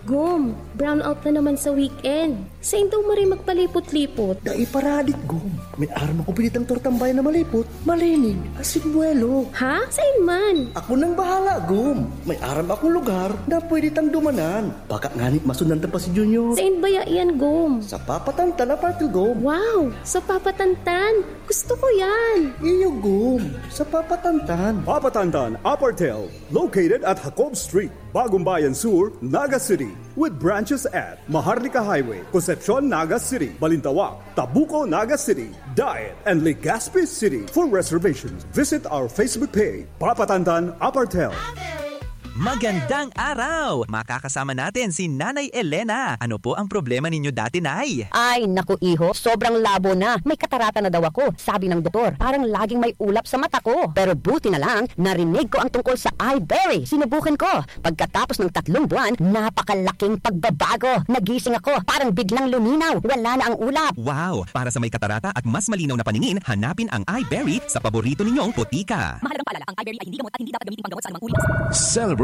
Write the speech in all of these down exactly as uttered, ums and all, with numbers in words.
Gom, brownout na naman sa weekend. Sain daw maray magpalipot-lipot? Dai pa raad, Gom. May aram ako binitang tortang bayan na malipot, malinig, asin buwelo. Ha? Sain man? Ako nang bahala, Gom. May aram akong lugar na pwede tang dumanan. Baka ngani masundan ta pa si Junior. Sain baya iyan, Gom? Sa Papa Tantan Apartel, Gom. Wow! Sa Papa Tantan? Gusto ko yan! Iyo, Gom. Sa Papa Tantan. Papa Tantan Apartel, located at Jacob Street, Bagong Bayan Sur, Naga City, with branches at Maharlika Highway, Concepcion, Naga City, Balintawak, Tabuco, Naga City, Daet, and Legazpi City. For reservations, visit our Facebook page, Papa Tantan Apartel. Magandang araw! Makakasama natin si Nanay Elena. Ano po ang problema ninyo dati, Nay? Ay, naku, iho, sobrang labo na. May katarata na daw ako, sabi ng doktor. Parang laging may ulap sa mata ko. Pero buti na lang, narinig ko ang tungkol sa Iberry. Sinubukan ko. Pagkatapos ng tatlong buwan, napakalaking pagbabago. Nagising ako, parang biglang luminaw. Wala na ang ulap. Wow! Para sa may katarata at mas malinaw na paningin, hanapin ang Iberry sa paborito ninyong botika. Mahalagang paalala, ang Iberry ay hindi gamot at hindi dapat gamitin panggamot sa anumang uri ng sakit.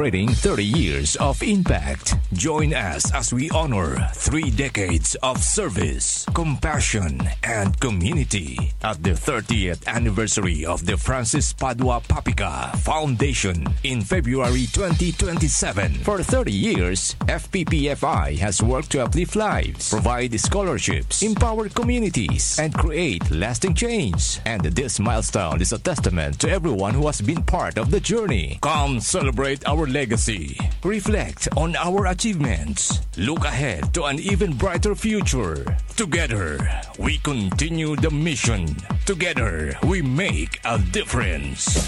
Celebrating thirty years of impact. Join us as we honor three decades of service, compassion, and community at the thirtieth anniversary of the Francis Padua Papica Foundation in February twenty twenty-seven. For thirty years, F P P F I has worked to uplift lives, provide scholarships, empower communities, and create lasting change. And this milestone is a testament to everyone who has been part of the journey. Come celebrate our legacy. Reflect on our achievements. Look ahead to an even brighter future. Together, we continue the mission. Together, we make a difference.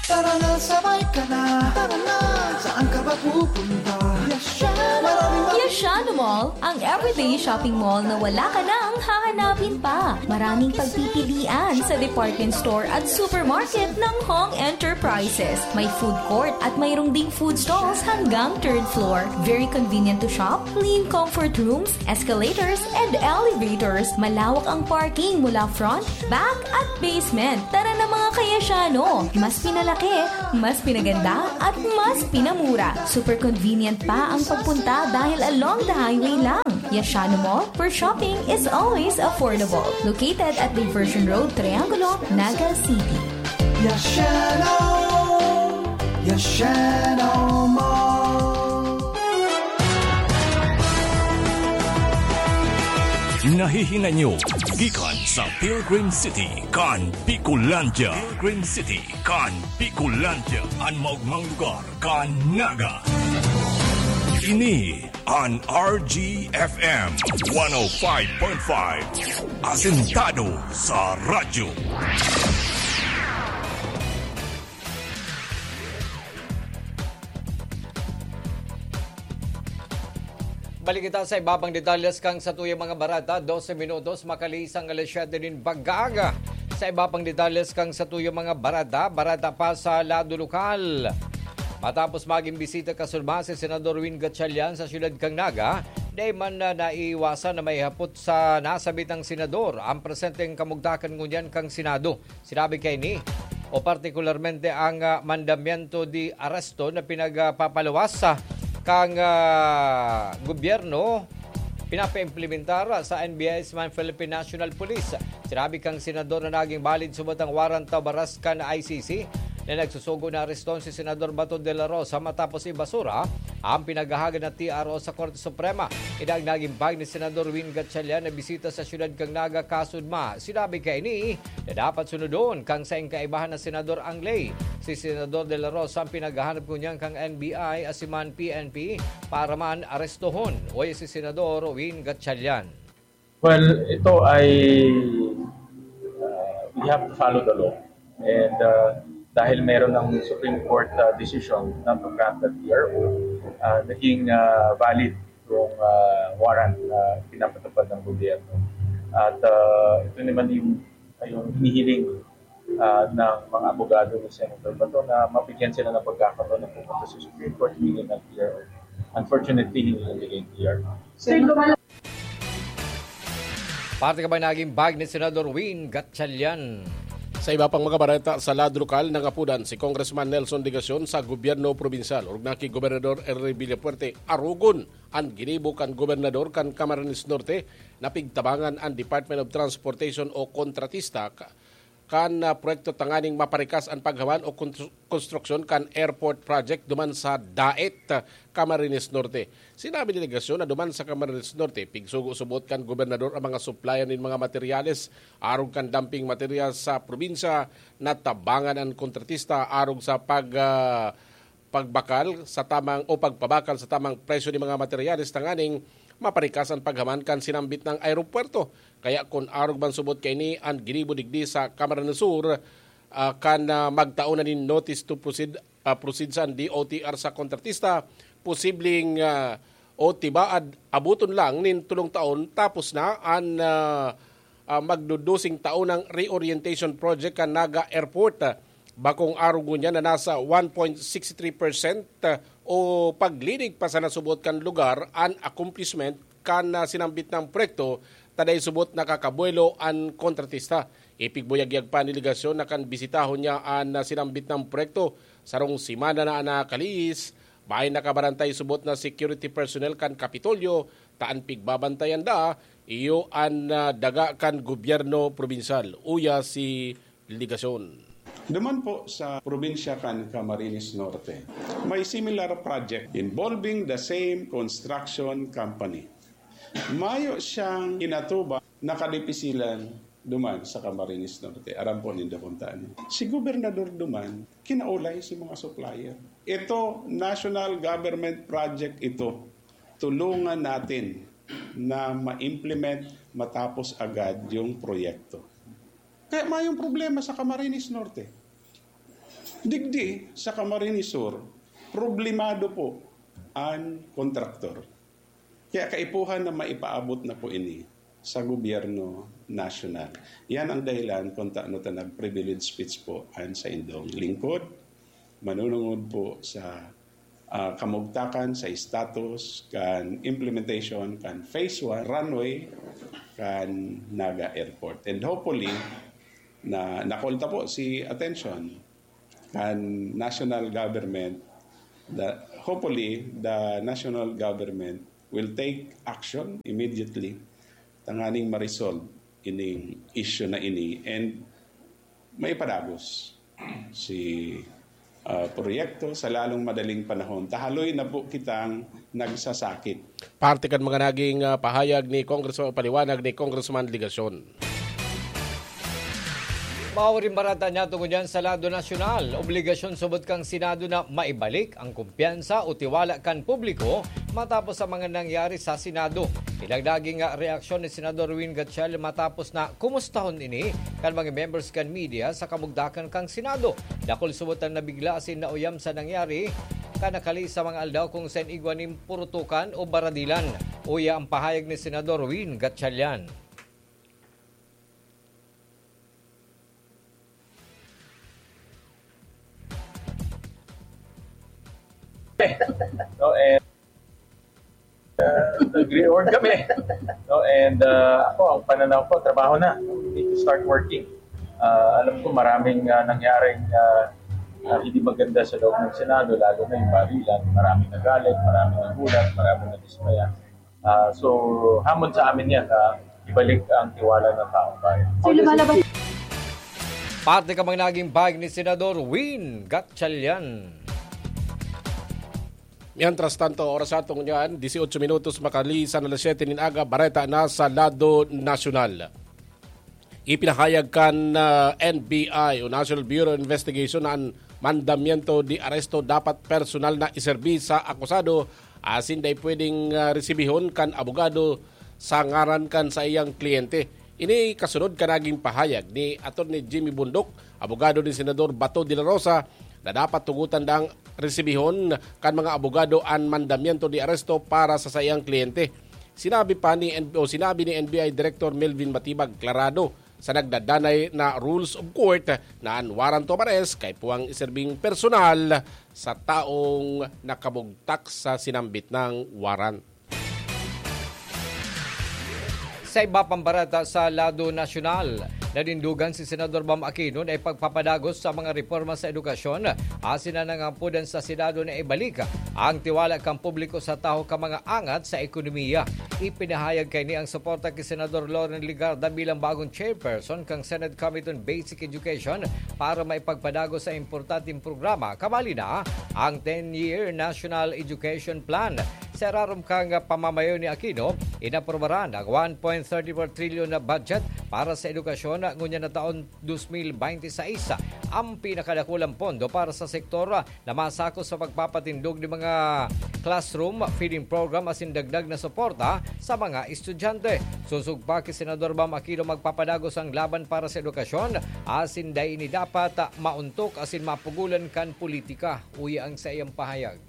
Tara na, sabay ka na. Tara na, saan ka ba pupunta? Yashano Mall, ang everyday shopping mall na wala ka nang hahanapin pa. Maraming pagpipilian sa department store at supermarket ng Hong Enterprises. May food court at mayroong ding food stalls hanggang third floor. Very convenient to shop, clean comfort rooms, escalators, and elevators. Malawak ang parking mula front, back, at basement. Tara na, mga ka-Yashano! Mas pinalaki, mas pinaganda, at mas pinamura. Super convenient pa ang pagpunta dahil along the highway lang. Yashano Mall, where shopping is always affordable. Located at Diversion Road, Triangulo, Naga City. Yashano! Yashano Mall! Nahihinan nyo gikan sa Pilgrim City kan Bicolandia. Pilgrim City kan Bicolandia, an maogmang lugar kan Naga. Ini an R G F M one oh five point five, asentado sa radyo. Balik kita sa iba pang detalles kan satuyang mga bareta. Dose minutos makalihis an alas siyete nin bagaga. Sa iba pang detalles kan satuyang mga bareta, bareta pa sa lado lokal. Matapos magin bisita kasunod si Senador Win Gatchalian sa siyudad kan Naga, dai man na naiiwasan na maihapot sa nasabitang senador an presenteng kamugtakan ngunyan kan Senado. Sinabi kaini, o partikularmente ang, ah, mandamiento de arresto na pinagpapaluwas, ah, kan, ah, gobyerno, pinapaimplementar sa N B I man Philippine National Police. Sinabi kan senador na naging valid subot ang warrant of arrest kan I C C na nagsusugo na areston si Senador Bato de la Rosa matapos ibasura ang pinaghahagad na T R O sa Korte Suprema. Idag naging pag ni Senador Win Gatchalian na bisita sa siyudad kan Naga kasudma. Sinabi kaini na dapat sunodon kan saing kaibahan na senador ang ley. Si Senador de la Rosa ang pinaghahanap ngunyan kan N B I asin man P N P para man arestohon. Oy, si Senador Win Gatchalian. Well, ito ay, uh, we have to follow the law. And, uh, dahil meron ng Supreme Court, uh, decision not to grant the T R O, uh, naging, uh, valid yung, uh, warrant na pinapatupad ng gobyerno. At, uh, ito naman yung, yung hinihiling, uh, ng mga abogado ni Senator Bato na mabigyan sila ng pagkakataon na pumunta sa Supreme Court, humingi ng T R O. Unfortunately, hindi nabigay yung T R O. Parte ka ba naging bag ni Senador Win Gatchalian? Sa iba pang mga bareta sa lado lokal, nangapodan si Congressman Nelson Legacion sa gobyerno probinsyal orog na ki Gobernador Henry Villafuerte arogon an ginibo kan gobernador kan Camarines Norte na pigtabangan an Department of Transportation o kontratista ka, kan ah, proyekto tanganing maparikas an paghawan o kontru- konstruksyon kan airport project duman sa Daet, ah, Camarines Norte. Sinabi ni Legacion na duman sa Camarines Norte, pigsugo subot kan gobernador ang mga supplier nin mga materyales arog kan dumping materials sa probinsya na tabangan an kontratista arog sa pag, ah, pagbakal sa tamang o pagpabakal sa tamang presyo ni mga materyales tanganing maparikas an paghaman kan sinambit na aeropuerto. Kaya kun arog man subot kaini an ginibo digdi sa Camarines Sur, ah, kan, ah, magtao na nin notice to proceed, ah, proceed sa D O T R sa kontratista, posibleng, ah, o tibaad abuton lang nin tolong taon tapos na an, ah, ah, magdudusing taon ng reorientation project kan Naga Airport. Bakong arog ngunyan na nasa one point six three percent o paglinig pa sa nasubot kan lugar an accomplishment kan ah, sinambit na proyekto, ta dai subot nakakabuelo an kontratista. Ipigbuyagyag pa ni Legacion na kan bisitahon niya an ah, sinambit na proyekto sarong semana na an nakalihis, may nakabarantay subot na security personnel kan Kapitolyo, ta an pigbabantayan da iyo an ah, daga kan gobyerno probinsyal, uya si Legacion. Duman po sa probinsya kan Camarines Norte, may similar project involving the same construction company. Mayo siyang inatuba na kadipisilan duman sa Camarines Norte. Aram po nindo kung taan. Si gobernador duman, kinaulay si mga supplier. Ito, national government project ito. Tulungan natin na ma-implement matapos agad yung proyekto. Kaya mayong problema sa Camarines Norte. Digdi sa Camarines Sur, problemado po ang kontraktor. Kaya kaipuhan na maipaabot na po ini sa gobyerno nasyonal. Yan ang dahilan kung taano ta nag-privilege speech po ang sa indong lingkod, manunungod po sa ah, kamugtakan sa status kan implementation kan phase one runway kan Naga Airport. And hopefully, na nakolta po si attention kan national government, that hopefully the national government will take action immediately tanganing ma-resolve ining issue na ini and maipadagos si ah, proyekto sa lalong madaling panahon. Tahaloy na po kitang nagsasakit. Parte kan mga naging ah, pahayag ni Congressman o paliwanag ni Congressman Legacion. Maoring barata niya tungod yan sa lado nasyonal. Obligasyon subot kang Senado na maibalik ang kumpiyansa o tiwala kan publiko matapos sa mga nangyari sa Senado. Ilang naging ah, reaksyon ni Senador Win Gatchalian matapos na kumustahon ini kan mga members kan media sa kamugdakan kan Senado. Dakul subot ang nabigla asin nauyam sa nangyari, kan nakali sa mga aldaw kung saen igwa nin purutukan o baradilan. Uya ang pahayag ni Senador Win Gatchalian. No, and uh, nag-reorg kami. No, and uh, ako, ang pananaw ko, trabaho na. We need to start working. Uh, alam ko maraming uh, nangyaring uh, uh, hindi maganda sa loob ng Senado, lalo na yung barilan. Maraming nagalit, maraming nagulat, maraming nadismaya. Uh, so, hamon sa amin yan na ibalik ang tiwala ng taong bayan. So, lumalabas Parte ka mga naging bayag ni Senador Win Gatchalian. Mientras tanto, oras atong niyan, dieciocho minutos makalisan alas siyete nin aga, bareta na sa lado nasyonal. Ipinahayag kan ah, N B I o National Bureau of Investigation na an mandamiento de arresto dapat personal na iserbi sa akusado asin dai pwedeng ah, resibihon kan abogado sa ngaran kan saiyang kliyente. Ini kasunod kan naging pahayag ni Attorney Jimmy Bundok, abogado ni Senador Bato de la Rosa, na dapat tugotan dang resibihon kan mga abogado an mandamiento de arresto para sa saiyang kliyente. Sinabi pa ni N- o sinabi ni N B I Director Melvin Matibag, klarado sa nagdadanay na rules of court na an warrant of arrest kaipuhang iserbing personal sa taong nakabugtak sa sinambit na warrant. Sa iba pang bareta sa lado nasyonal, Nanindugan si Senador Bam Aquino na ipagpapadagos sa mga reporma sa edukasyon asin na nangampudan sa Senado na ibalik ang tiwala kan publiko sa tawo kan mga angat sa ekonomiya. Ipinahayag kaini ang suporta ki Senador Loren Legarda bilang bagong chairperson kan Senate Committee on Basic Education para maipagpadagos sa importanteng programa, kabali na ang ten-year National Education Plan. Sa irarom kan pamamayo ni Aquino, inaprubaran ang one point thirty four trillion na budget para sa edukasyon ngunyan na taon dos mil bente seis, ang pinakadakulang pondo para sa sektor na masako sa pagpapatindog nin mga classroom, feeding program asin dagdag na suporta sa mga estudyante. Sosog pa ki Senador Bam Aquino, magpapadagos ang laban para sa edukasyon asin dai ini dapat mauntok asin mapugolan kan politika, uya ang saiyang pahayag.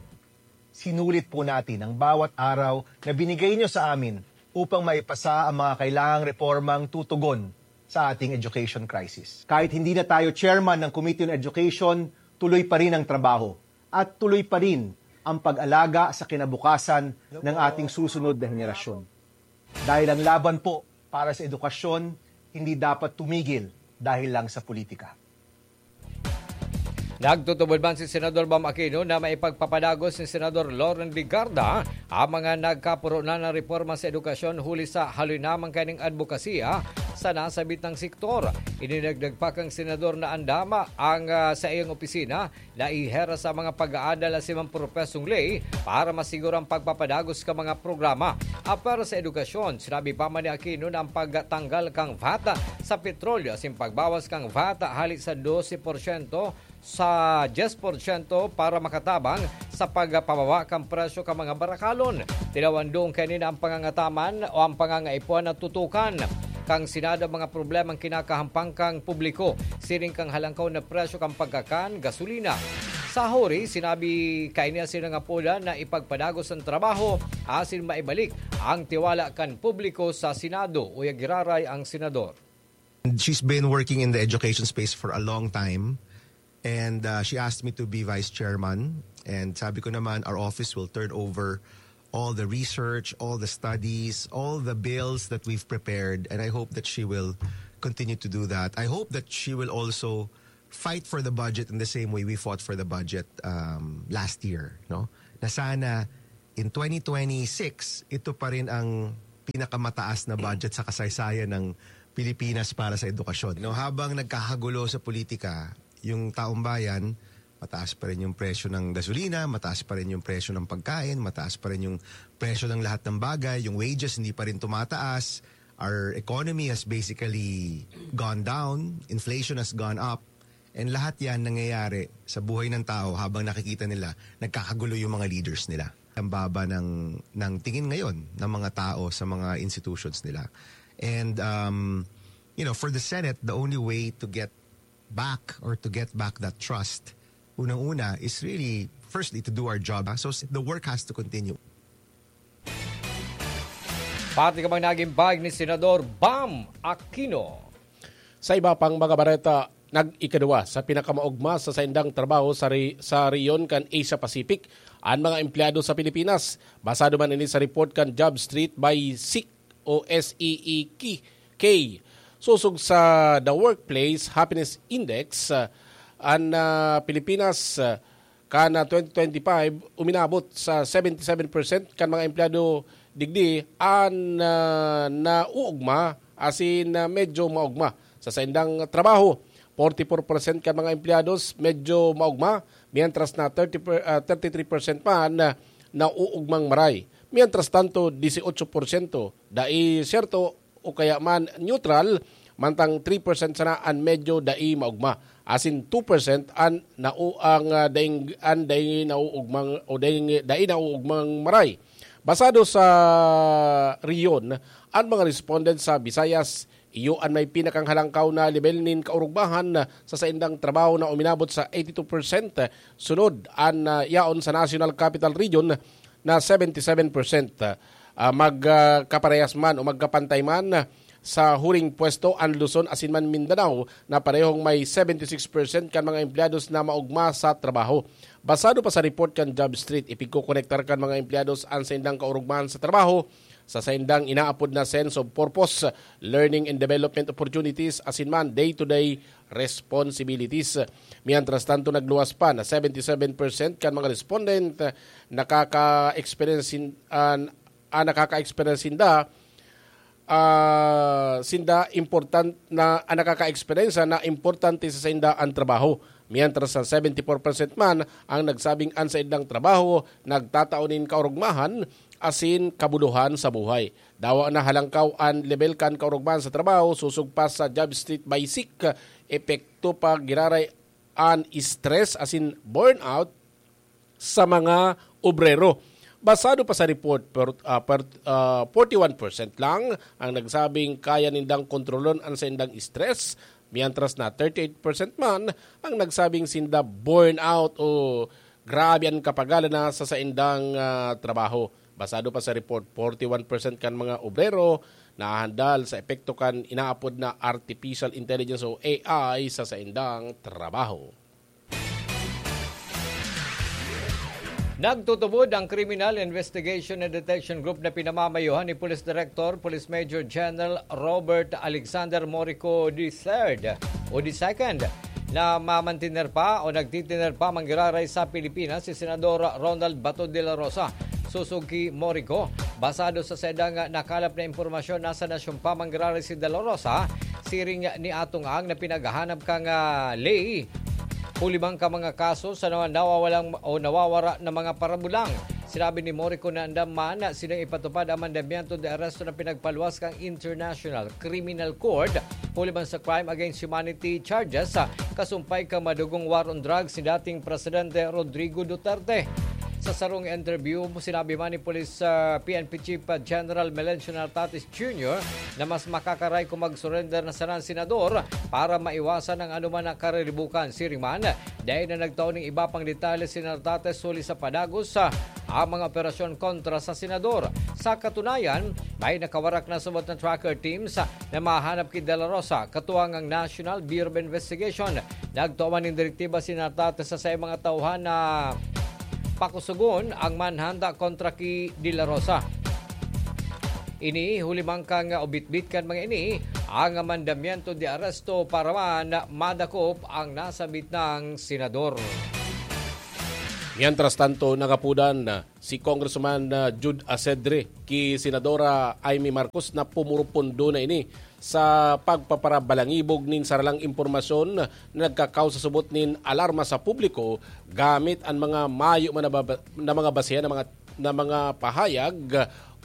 Sinulit po natin ang bawat araw na binigay niyo sa amin upang maipasa ang mga kailangang repormang tutugon sa ating education crisis. Kahit hindi na tayo chairman ng Committee on Education, tuloy pa rin ang trabaho at tuloy pa rin ang pag-alaga sa kinabukasan ng ating susunod na henerasyon. Dahil ang laban po para sa edukasyon hindi dapat tumigil dahil lang sa politika. Nagtutubod man si Senador Bam Aquino na maipagpapadagos ni Senador Loren Legarda ang mga nagkapurunan na reporma sa edukasyon huli sa haloy na man kaining adbokasiya sa nasabit nang sektor. Idinagdag pa kan senador na andam ang, ah, sa iyang opisina na ihera sa mga pag-aadal asin mga propesong ley para masiguro ang pagpapadagos kan mga programa. Apwera sa edukasyon, sinabi pa man ni Aquino na ang pagtanggal kan vat sa petrolyo asin pagbawas kan vat hali sa dose porsyento sa diyes porsyento para makatabang sa pagpababa kan presyo kan mga barakalon. Tinawandong kaini na ang pangangataman o ang pangangaipuhan na tutukan kan Senado ang mga problemang kinakahampang kan publiko, siring kan halangkaw na presyo kan pagkakan, gasolina. Sa huri, sinabi kaini asin nangapodan na ipagpadagos ang trabaho asin maibalik ang tiwala kan publiko sa Senado, uya giraray ang senador. She's been working in the education space for a long time. And uh, she asked me to be vice chairman. And sabi ko naman, our office will turn over all the research, all the studies, all the bills that we've prepared. And I hope that she will continue to do that. I hope that she will also fight for the budget in the same way we fought for the budget um, last year. No? Na sana in twenty twenty-six, ito pa rin ang pinakamataas na budget sa kasaysayan ng Pilipinas para sa edukasyon. No, habang nagkakagulo sa politika, yung taong bayan, mataas pa rin yung presyo ng gasolina, mataas pa rin yung presyo ng pagkain, mataas pa rin yung presyo ng lahat ng bagay, yung wages hindi pa rin tumataas, our economy has basically gone down, inflation has gone up, and lahat yan nangyayari sa buhay ng tao habang nakikita nila nagkakagulo yung mga leaders nila. Ang baba ng, ng tingin ngayon ng mga tao sa mga institutions nila. And, um, you know, for the Senate, the only way to get back or to get back that trust, unang-una is really, firstly, to do our job. So the work has to continue. Pati ka bang naging bag ni Senador Bam Aquino? Sa iba pang mga bareta, nag-ikadua sa pinakamaugma sa saindang trabaho sa, re- sa rehiyon kan Asia Pacific an mga empleyado sa Pilipinas. Basado man ini sa report kan Job Street by SEEK o S E E K. Sosog sa The Workplace Happiness Index, ah, an ah, Pilipinas ah, kan ah, twenty twenty-five uminabot sa seventy-seven percent kan mga empleyado digdi an ah, nauugma asin ah, medyo maugma sa saindang trabaho. Forty-four percent kan mga empleyados medyo maugma, mientras na thirty per, ah, thirty-three percent man ah, nauugmang maray. Mientras tanto, dieciocho porsyento dai siyerto o kaya man neutral, mantang three percent sana an medyo dai maugma, asin two percent an nau ang ah, daing an dai nauugmang o dai, dai nauugmang maray. Basado sa rehiyon, an mga respondent sa Visayas iyo an may pinakanghalangkaw na lebel nin kaurugmahan sa saindang trabaho na uminabot sa eighty-two percent, sunod an ah, yaon sa National Capital Region na seventy-seven percent. Ah, magkaparehas man o magkapantay man sa huring pwesto an Luzon asin man Mindanao na parehong may seventy-six percent kan mga empleyados na maugma sa trabaho. Basado pa sa report kan Job Street, ipigkokonektar kan mga empleyados an saindang kaurugmahan sa trabaho sa saindang inaapod na sense of purpose, learning and development opportunities, asin man day-to-day responsibilities. Mientras tanto, nagluwas pa na seventy-seven percent kan mga respondent nakaka-experience sin-, ah, ah, nakaka-experience sinda, ah, sinda important na, ah, nakaka-experience na importante sa sainda ang trabaho. Mientras sa seventy-four percent man ang nagsabing an saindang trabaho nagtatao nin kaorogmahan asin kabuluhan sa buhay. Dawa na halangkaw an lebel kan kaorogmahan sa trabaho, sosog pa sa job street by sick, epekto pa giraray an stress asin burnout sa mga obrero. Basado pa sa report, per, ah, per, ah, forty-one percent lang ang nagsabing kaya nindang kontrolon an saindang stress, mientras na thirty-eight percent man ang nagsabing sinda burnout o grabe an kapagalan na sa saindang, ah, trabaho. Basado pa sa report, forty-one percent kan mga obrero nahahandal sa epekto kan inaapod na artificial intelligence o A I sa saindang trabaho. Nagtutubod ang Criminal Investigation and Detection Group na pinamamayohan ni Police Director Police Major General Robert Alexander Morico the third o the second na mamantiner pa o nagtitiner pa manggiraray sa Pilipinas si Senador Ronald Bato de la Rosa. Sosog ki Morico, basado sa saindang nakalap na impormasyon, nasa nasyon pa manggiraray si de la Rosa, siring ni Atong Ang na pinaghahanap kan, ah, ley huli man ka mga kaso sa nawa-, nawawalang o nawawara na mga parabulang. Sinabi ni Morico na andam man sining ipatupad ang mandamiento de aresto na pinagpaluwas kan International Criminal Court huli man sa crime against humanity charges, ah, kasumpay kan madugong war on drugs ni dating Presidente Rodrigo Duterte. Sa sarong interview, sinabi man ni Police, ah, P N P Chief, ah, General Melencio Nartates Junior na mas makakaray kung mag-surrender na sana ang senador para maiwasan ang anuman na kariribukan. Siring man, dai na nagtao ning iba pang detalye si Nartates huli sa padagos sa ang mga operasyon kontra sa senador. Sa katunayan, may nakawarak na subot na tracker teams na mahanap ki De La Rosa, katuwang ang National Bureau of Investigation. Nagtua man nin direktiba si Nartates sa saiyang mga tauhan na pakusugon ang manhanda kontra ki De La Rosa. Ini huli man kan ubitbit kan mga ini ang mandamiento de aresto para man madakop ang nasabit nang senador. Mientras tanto, nagapudan si Congressman, ah, Jude Asedre ki Senadora Imee Marcos na pumurupundo na ini sa pagpaparabalangibog nin saralang impormasyon na nagkakaos sa subot nin alarma sa publiko gamit an mga mayo man na baba-, na mga basehan na mga, na mga pahayag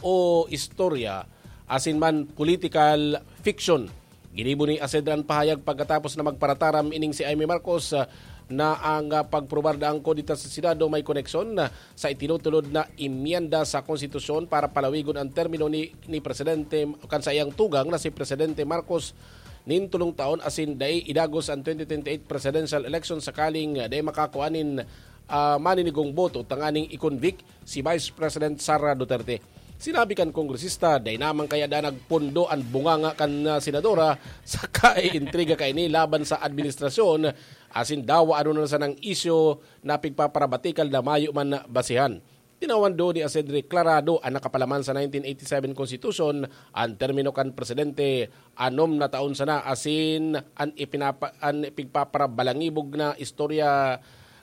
o istorya asin man political fiction. Ginibo ni Asedre an pahayag pagkatapos na magparataram ining si Imee Marcos, ah, na ang, ah, pagprobar na angkon dita sa Senado may koneksyon, ah, sa itinutulod na emyenda sa konstitusyon para palawigon ang termino ni, ni Presidente, kan saiyang tugang na si Presidente Marcos nin tolong taon asin dai idagos ang twenty twenty-eight presidential election sakaling, ah, dai makakua nin, ah, maninigong boto tanganing i-convict si Vice President Sara Duterte. Sinabi kan kongresista, dai naman kaya danag pondo an bunganga kan, ah, senadora sa kaiintriga kaini laban sa administrasyon, asin dawa ano na sanang isyu na pigpaparabatikal na mayo man na basehan. Tinawan do ni Asedre klarado an nakapalaman sa nineteen eighty-seven Constitution, an termino kan presidente anom na taon sana, asin an ipinapa-, an pigpaparabalangibog na istorya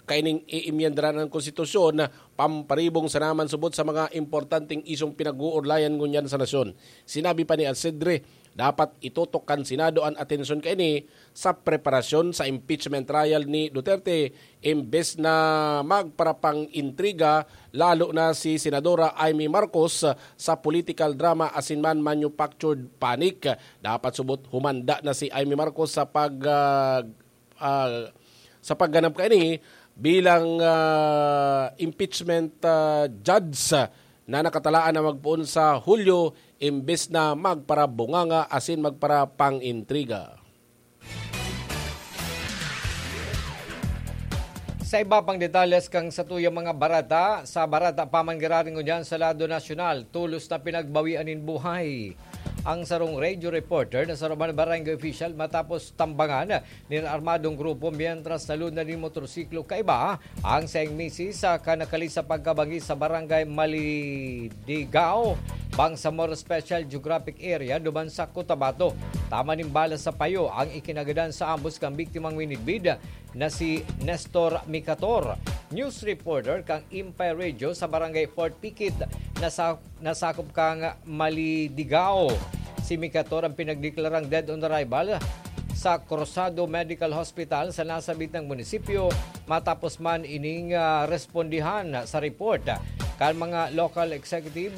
kaining iimyendaran an konstitusyon, pamparibong sana man subot sa mga importanteng isyung pinag-uurlayan ngunyan sa nasyon. Sinabi pa ni Asedre, dapat itutok kan Senado an atensyon kaini sa preparasyon sa impeachment trial ni Duterte, imbes na magparapang-intriga, lalo na si Senadora Imee Marcos, sa political drama asin man manufactured panic. Dapat subot humanda na si Imee Marcos sa pag, ah, ah, sa pagganap kaini bilang, ah, impeachment, ah, judge na nakatalaan na magpoon sa Hulyo, imbes na magparabunganga asin magparapang-intriga. Sa iba pang detalles kan satuyang mga barata, sa barata pa man giraray ngunyan sa lado nasyonal, tolos na pinagbawian nin buhay ang sarong radio reporter na sarong barangay official matapos tambangan nin armadong grupo mientras nalunad nin motorsiklo kaiba ang saiyang misis sa kanakali sa pagkabangi sa barangay Malidigao, Bangsamoro Special Geographic Area duman sa Cotabato. Tama nin bala sa payo ang ikinagadan sa ambos kan biktimang minidbid na si Nestor Micator, news reporter kan Empire Radio sa Barangay Fort Piquet, na sa nasakop kan Malidigao. Si Micator ang pinagdeklarang dead on arrival sa Cruzado Medical Hospital sa nasabitang munisipyo matapos man ining, ah, respondihan sa report kan mga local executive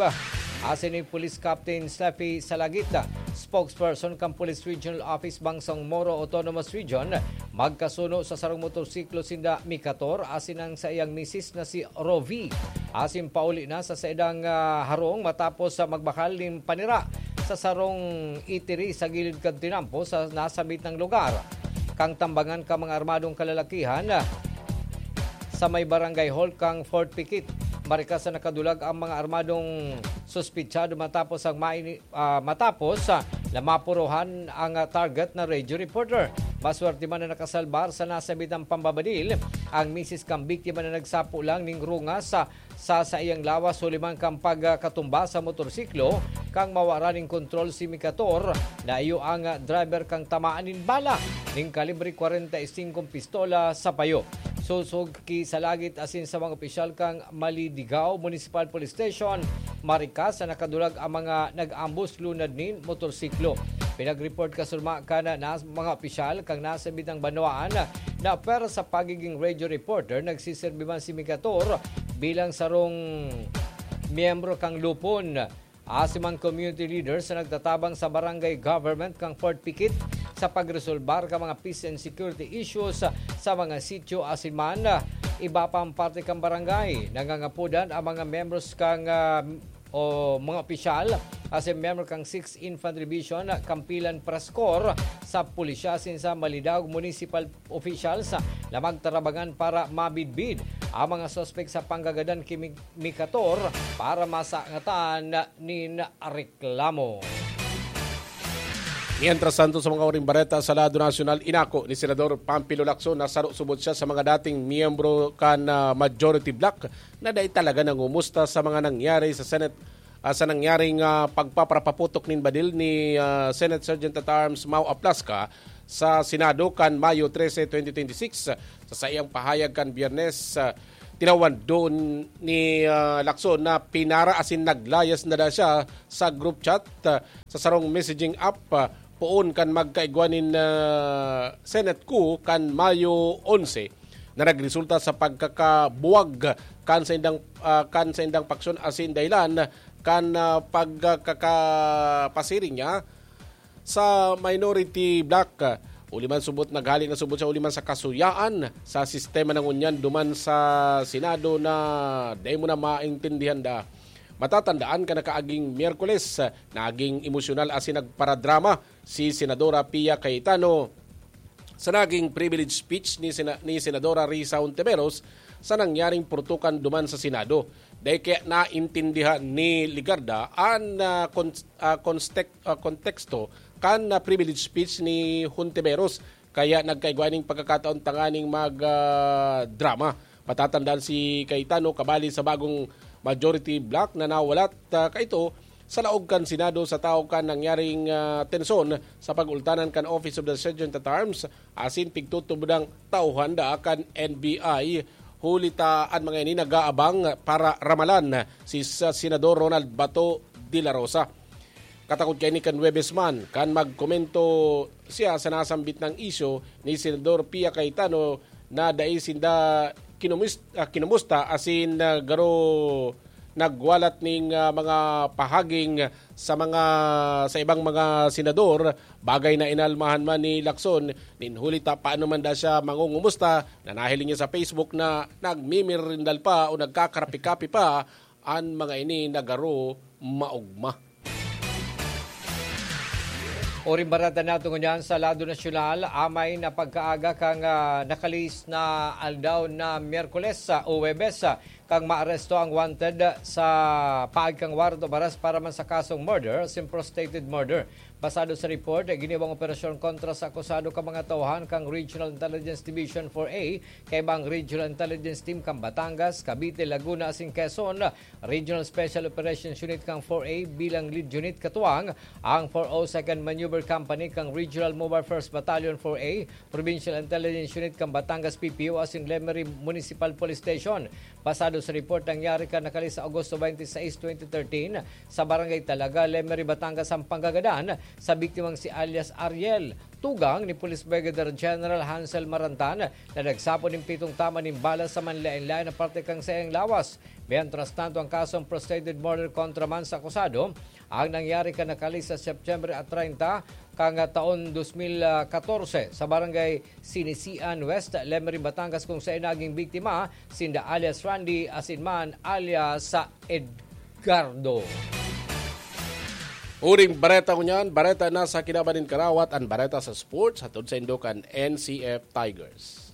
asin ni Police Captain Steffi Salagit, spokesperson kan Police Regional Office Bangsamoro Autonomous Region, magkasuno sa sarong motorsiklo sinda Micator asin ang saiyang misis na si Rovi. Asin pauli na sa saidang, ah, harong matapos sa magbakal nin panira sa sarong eatery sa gilid kan tinampo sa nasabitang lugar. Kan tambangan kan mga armadong kalalakihan, ah, sa may barangay hall kan Fort Piquet. Marikas na nakadulag ang mga armadong suspitsado matapos ang maini-, ah, matapos, ah, na mapuruhan ang, ah, target na radio reporter. Maswerte man na nakasalbar sa nasabitang pambabadil ang misis kan biktima na nagsapo lang nin rungas sa, sa saiyang lawas huli man kan pagkatumba sa motorsiklo kan mawara nin kontrol si Micator, na iyo ang, ah, driver kan tamaan nin bala nin kalibre kwarenta y singko pistola sa payo. Sosog ki Salagit asin sa mga opisyal kan Malidigao Municipal Police Station, marikas na nakadulag ang mga nag-ambos lunad nin motorsiklo. Pinag-report kasurma kan nas-, mga opisyal kan nasabitang banwaan na pwera sa pagiging radio reporter, nagsiserbi man si Micator bilang sarong miyembro kan Lupon. Asin man community leaders na nagtatabang sa barangay government kan Fort Piquet sa pagresolbar kan mga peace and security issues sa mga sityo asin man iba pang parte kan barangay. Nangangapodan ang mga membros kan, ah, o mga opisyal asin miyembro kan Sixth Infantry Division, Kampilan Press Corps sa pulisya asin sa Malidigao Municipal officials na magtarabangan para mabidbid ang mga suspek sa panggagadan ki Mi-, Micator para masangatan nin reklamo. Mientras tanto, sa mga huring bareta sa lado nasyonal, inako ni Senador Panfilo Lacson na saro subot siya sa mga dating miyembro kan, ah, majority bloc na dai talaga nangumusta sa mga nangyari sa Senate, ah, sa nangyaring, ah, pagpaparapaputok nin badil ni, ah, Senate Sergeant at Arms Mau Aplasca sa Senado kan Mayo trese, twenty twenty-six. Sa saiyang pahayag kan Biyernes, ah, tinawan doon ni, ah, Lacson na pinara asin naglayas na daw siya sa group chat, ah, sa sarong messaging app, ah, poon kan magkaigwa nin, ah, Senate coup kan Mayo onse, na nagresulta sa pagkakabuwag kan saindang, ah, kan saindang paksyon asin dahilan kan, ah, pagkakapasiring niya sa minority bloc. Huli man subot, naghali na subot siya huli man sa kasuyaan sa sistema na ngunyan duman sa Senado na dai mo na maintindihan da. Matatandaan kan nakaaging Miyerkules, naging emosyonal asin nagparadrama si Senadora Pia Cayetano sa naging privilege speech ni Sena-, ni Senadora Risa Hontiveros sa nangyaring purutukan duman sa Senado. Dai kaya naintindihan ni Legarda an, ah, kon-, ah, konstek-, ah, konteksto kan, ah, privilege speech ni Hontiveros, kaya nagkaigwa ning pagkakataon tanganing mag, ah, drama. Matatandaan si Cayetano kabali sa bagong majority bloc na nawalat, ah, kaito sa laog kan Senado sa tahaw kan nangyaring, ah, tensyon sa pag-ultanan kan Office of the Sergeant at Arms asin pigtutubodang tauhan da kan N B I, huli ta an mga ini nag-aabang para ramalan si sa Senador Ronald Bato de la Rosa. Katakod kaini kan Huwebes man, kan magkomento siya sa nasambit na isyu ni Senador Pia Cayetano na dai sinda kinumus-, ah, kinumusta asin, ah, garo nagwalat ning, ah, mga pahaging sa mga, sa ibang mga senador, bagay na inalmahan man ni Lacson, nin huli ta paano man da siya mangungumusta, na nahiling niya sa Facebook na nagmimirindal pa o nagkakarapi-kapi pa an mga ini na garo maogma. Uring bareta nato ngunyan sa lado nasyonal, amay na pagkaaga kan, ah, nakalihis na aldaw na Miyerkules, ah, o Huwebes, ah, kan maaresto ang wanted sa paagi kan warrant of arrest para man sa kasong murder, asin prostrated murder. Basado sa report, giniwang operasyon kontra sa akusado kan mga tauhan kan Regional Intelligence Division four A, kaiba ang Regional Intelligence Team kan Batangas, Cavite, Laguna asin Quezon, Regional Special Operations Unit kan four A bilang lead unit, katuwang ang four oh second Maneuver Company kan Regional Mobile First Battalion four A, Provincial Intelligence Unit kan Batangas P P O asin Lemery Municipal Police Station. Basado sa report, nangyari kan nakalihis sa Agosto twenty-six, twenty thirteen, sa Barangay Talaga, Lemery, Batangas, ang panggagadan sa biktimang si alias Ariel, tugang ni Police Brigadier General Hansel Marantan, na nagsapon nin pitong tama nin bala sa manlaen-laen na parte kan saiyang lawas. Mientras tanto, ang kasong prostrated murder kontra man sa akusado, ang nangyari kan nakalihis sa September treinta kan taon dos mil katorse sa Barangay Sinisian West, Lemery, Batangas, kung saen naging biktima sinda alias Randy asin man alias Edgardo. Huring bareta ngunyan, bareta na sa kinaban nin karawat, an bareta sa sports, hatod saindo kan N C F Tigers.